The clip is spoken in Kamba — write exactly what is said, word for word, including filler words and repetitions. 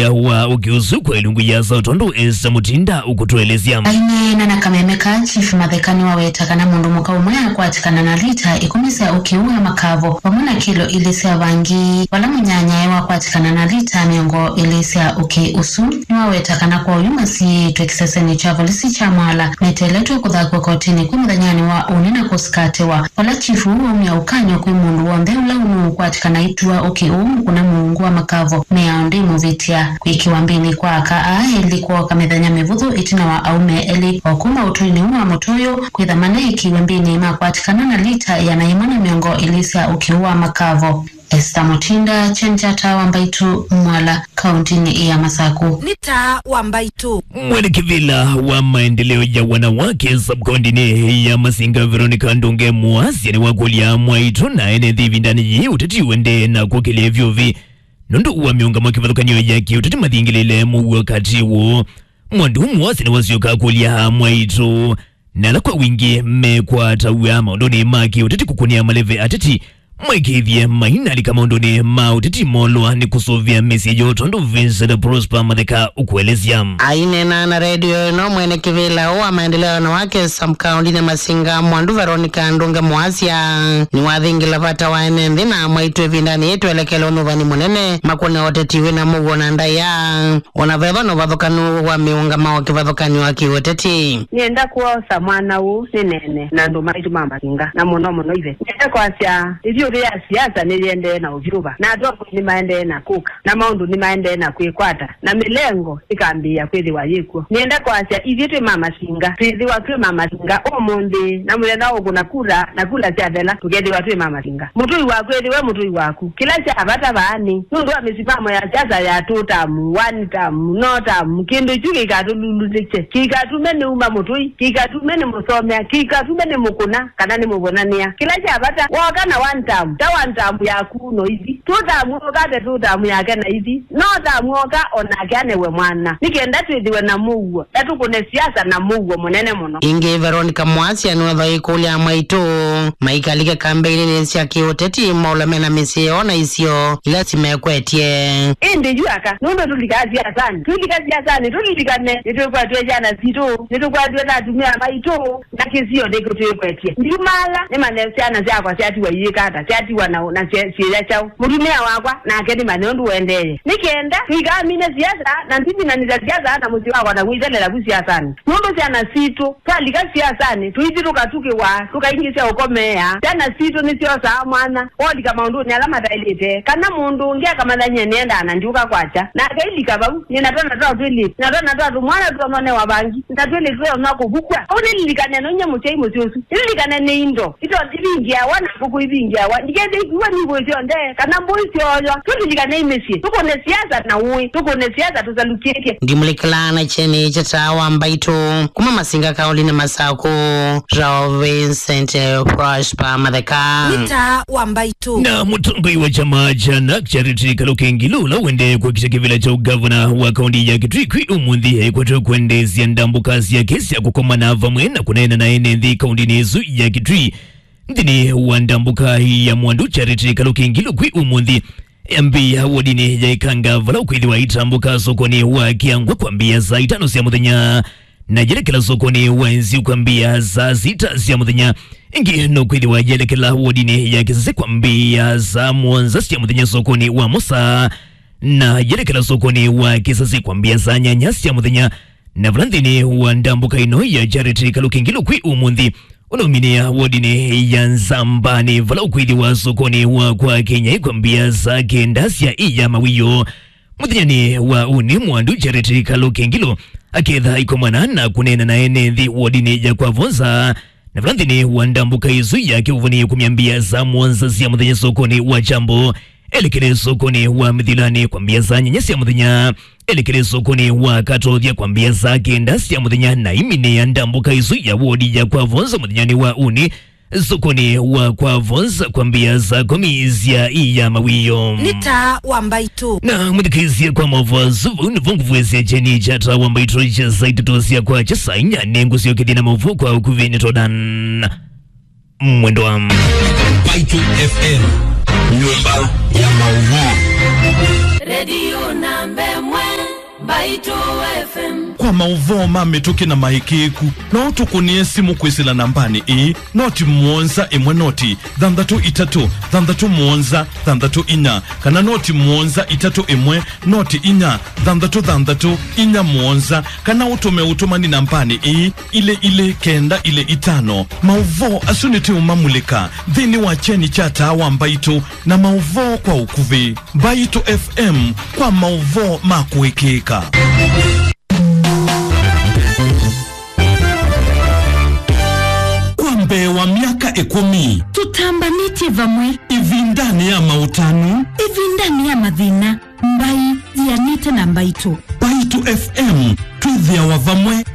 wa ũkĩ ũsu kwa ilungu ya Saũ tondũ Esther Mutinda ũkũtũelesya. Aineena na kameme ka Chief Matheka nĩwaweta kana mũndũ mũka ũmwe akwatĩkana na lita ĩkũmi sya ũkĩ ũũ wa makavo vamwe na kilo ilĩ sya vangi. Vala mũnyanyae wakwatĩkana na lita mĩongo ĩlĩ sya ũkĩ ũsu, nĩwaweta kana kwa oyu masiĩĩtwe kĩsesenĩ kya volisi kya Mwala meteeletwe kũthakw'a kotinĩ kwĩ mũthenyanĩ wa ũnĩ na kũsikatĩwa. Vala chifu ũũ waumya ũkany'o kwĩ mũndũ w'onthe ũla ũnũũkwatĩkana aitua ũkĩ ũũ mũkũna mũungu wa makavo, mĩao ndĩmũvĩtya. Kwĩkĩwa mbĩnĩ kwa aka aa elĩ kwooka mĩthenya mĩvũthũ ĩtina wa aũme elĩ o kuma ũtũinĩ ũũ wa mũtũyũ kwĩtha maneekiwe mbĩnĩ makwatĩkana na lita ĩana yĩmwe na mĩongo ĩlĩ sya ũkĩ ũũ wa makavo. Esther Mutinda, Chenjata wa Mbaitu, Mwala, kauntinĩ ya Masaku. Nĩ taa wa Mbaitu. Mwene kĩvĩla wa maendeleo ya wanawake sub-kauntinĩ ya Masinga, Veronica Ndunge Muasya, nĩwakũlya mwaitũ na ene nthĩ ĩvindanĩ yĩĩ ũteti ũendee na kũkĩlya vyũvi nũndũ wa mĩũngamo kĩvathũkany'o ya kĩũteti mathingĩlĩle mũuo katĩ woo. Mwandu Muasya nĩwasyoka kũlya mwaitũ na ala kwa wingĩ mekwataw'a maũndũnĩ ma kĩũteti kũkũnĩa maleve ateti maikĩĩthye mainalika maũndũnĩ ma ũteti molwa nĩ kũsũvĩa mĩsyĩ yoo, tondũ Vincent Prosper Matheka ũkũelesya. Aineena na redio ĩno, mwene kĩvĩla ũũ wa maendeleo ya wanawake sub-kauntinĩ Masinga, Mwandu Veronica Ndunge Muasya, nĩwathingĩla vata wa ene nthĩ na mwaitũ ĩvindanĩ yĩĩ twelekele ũnyuvani mũnene makũne ũteti wĩna mũuo na ndaĩa. Ona veva na ũvathũkanu wa mĩũngamo kĩvathũkany'o wa kĩũteti. Nĩenda kwosa mwana ũũ nĩneene na andũ maitũ ma Masinga, na mũno mũno ithe. Nĩenda kwasya ĩvyũvĩ ya siasa nĩyĩendee na ũvyũva, na atongoi nĩmaendee na kũka, na maũndũ nĩmaendee na kwĩkwata, na mĩlengo ĩkambĩĩa kwĩthĩwa yĩkw'o. Nĩenda kwasya ithyĩ twĩ ma Masinga, twĩthĩwa twĩ ma Masinga ũmũnthĩ, na mũthenya wa ũkũna kura, na kura syathela, tũkethĩwa twĩ ma Masinga. Mũtũi waku ethĩwe mũtũi waku. Kĩla kya vata vaa nĩ nũndũ wa mĩsimamo ya siasa ya two term, one term, no term. Kĩndũ kyu kĩikatũlulutĩkye, kĩikatume nĩuma mũtũi, kĩikatume nĩmũsomea, kĩikatume nĩmũkũna kana nĩmũvonanĩa. Kĩla kya vata, wooka na one term, ta one term yaku no ithi. Two term wooka ate two term yake na ithi. No term wooka onake anewe mwana. Nĩ kenda twĩthĩwe na mũuo, na tũkũne siasa na mũuo mũnene mũno. Ĩngĩ, Veronica Muasya nĩwethwa ĩkũlya mwaitũ maikalike kambeinĩ sya kĩũteti maũla mena mĩsyĩ yoo na isio ila simekwetye. Ĩndĩ yu aka, nũndũ tũlikaa siasanĩ, twĩlika siasanĩ tũlilikane nĩtwĩkwatw'e syana sitũ, nĩtũkwatw'e na atumĩa maitũ, na kĩsio nĩkĩtwĩkwetye. Ndiumaala nĩmanye syana syakwa syatiwa iĩka ata, syatiwa na, na syĩ-, syĩya kyaũ. Mũtumĩa wakwa nake nĩmanye ũndũ ũendee. Nĩ kenda tũikamine siasa na ndiminanĩsya siasa na mũsyĩ wakwa na kwĩthelela vu siasanĩ. Nũndũ syana sitũ, twalika siasanĩ, tũithi tũkatukĩwa, tũkaingĩsya ũkomeea. Syana sitũ nĩsyosaa mwanya wolika maũndũnĩ ala mataĩlĩte, kana mũndũ ũngĩ akamanya nyie nĩendaa na ndiũka kwakya, na akailika vau. Nĩ na twana twa twĩlĩtu, na twana twa tũmwana twononewa vangi, na twĩlĩtu tweona kũvukw'a. Ũu nĩlilikane no nyie mũsyai mũsyĩ ũsu. Nĩlilikane nĩ indo ito ivingĩawa na ngũkũ ivingĩawa. Ndikethĩiwe nĩ ngũĩ syonthe, kana mbũi syooywa. Tũlilikane mĩsyĩ, tũkũne siasa na ũĩ, tũkũne siasa tũsalukĩtye. Ndimũlĩkĩlaa na kyeni kya taa wa mbaitũ kuma Masinga kaũlinĩ Masakũ, Rao Vincent Prosper Matheka. Nĩ taa wa mbaitũ. Na mũtongoi wa kyama kya nak Charity Kaluki Ngilu, ũla ũendee kwakisya kĩvĩla kya ũgavana wa kaũnti ya Kitui kwĩ ũmũnthĩ, ekwatwe kwendeesya ndambũka syake sya kũkomana vamwe na kũneena na ene nthĩ kaũntinĩ ĩsu ya Kitui. Nthĩnĩ wa ndambũka ya mwandu Charity Kaluki Ngilu kwĩ ũmũnthĩ, yambĩĩa wodinĩ ya Ikanga, vala ũkwĩthĩwa itambũka sokonĩ wa Kĩangwa kwambĩĩa saa itano sya mũthenya, na yelekela sokonĩ wa Nziu kwambĩĩa saa sita sya mũthenya. Ĩngĩ no kwĩthĩwa yelekela wodinĩ ya Kĩsese kwambĩĩa saa mũonza sya mũthenya sokonĩ wa Mosa, na yelekela sokonĩ wa Kĩsese kwambĩĩa saa nyanya sya mũthenya. Na vala nthĩnĩ wa ndambũka ĩno ya Charity Kaluki Ngilu kwĩ ũmũnthĩ, ũnauminĩa wodinĩ ya Nzambanĩ, vala ũkwĩthĩwa sokonĩ wa kwa Kenya kwambĩĩa saa kenda sya ĩya mawĩoo. Mũthenyanĩ wa ũnĩ, mwandu Charity Kaluki Ngilu aketha aikomana na kũneena na ene nthĩ wodinĩ ya kwa Vonza, na vala nthĩnĩ wa ndambũka ĩsu yake ũvonĩe kumyambĩĩa saa mũonza sya mũthenya sokonĩ wa Kyambo, elekele sokonĩ wa Mĩthilanĩ kwambĩĩa saa nyanya sya mũthenya, elekele sokonĩ wa Katothya kwambĩĩa saa kenda sya mũthenya, na aiminĩa ndambũka ĩsu ya wodi ya kwa Vonza mũthenyanĩ wa ũnĩ sokonĩ wa kwa Vonza kwambĩĩa saa kũmi sya ĩya mawĩoo. Nĩ taa wa mbaitũ. Na mũthikĩĩsya kwa maũvoo asu, vau nĩvo ngũvwĩsya kyeni kya taa wa mbaitũ kya saa itatũ sya kwakya. Saa inya nĩngũsyokethya na maũvoo kwa ũkuvĩ. Nĩ Todan Mwendwa. Mbaitũ F M, nyũmba ya maũvoo. Redio namba ĩmwe. Mbaitũ F M. Kwa maũvoo ma mĩtũkĩ na maĩkĩĩku, no ũtũkũnĩe simũ kwĩsĩla nambanĩ ĩĩ, noti mũonza ĩmwe noti thanthatũ itatũ thanthatũ mũonza thanthatũ inya, kana noti mũonza itatũ ĩmwe noti inya thanthatũ thanthatũ inya mũonza, kana ũtũme ũtũmani nambanĩ ĩĩ, ilĩ ilĩ kenda ilĩ itano. Maũvoo asu nĩtũũmamulĩka nthĩnĩ wa kyeni kya Taa wa Mbaitũ na maũvoo kwa ũkuvĩ. Mbaitũ F M kwa maũvoo ma kũĩkĩĩka. Kwa mbee wa myaka ĩkũmi, tũtambanĩtye vamwe ĩvindanĩ ya maũtanu, ĩvindanĩ ya mathĩna, mbai yianĩte na mbaitũ. Mbaitũ F M, twĩthĩawa vamwe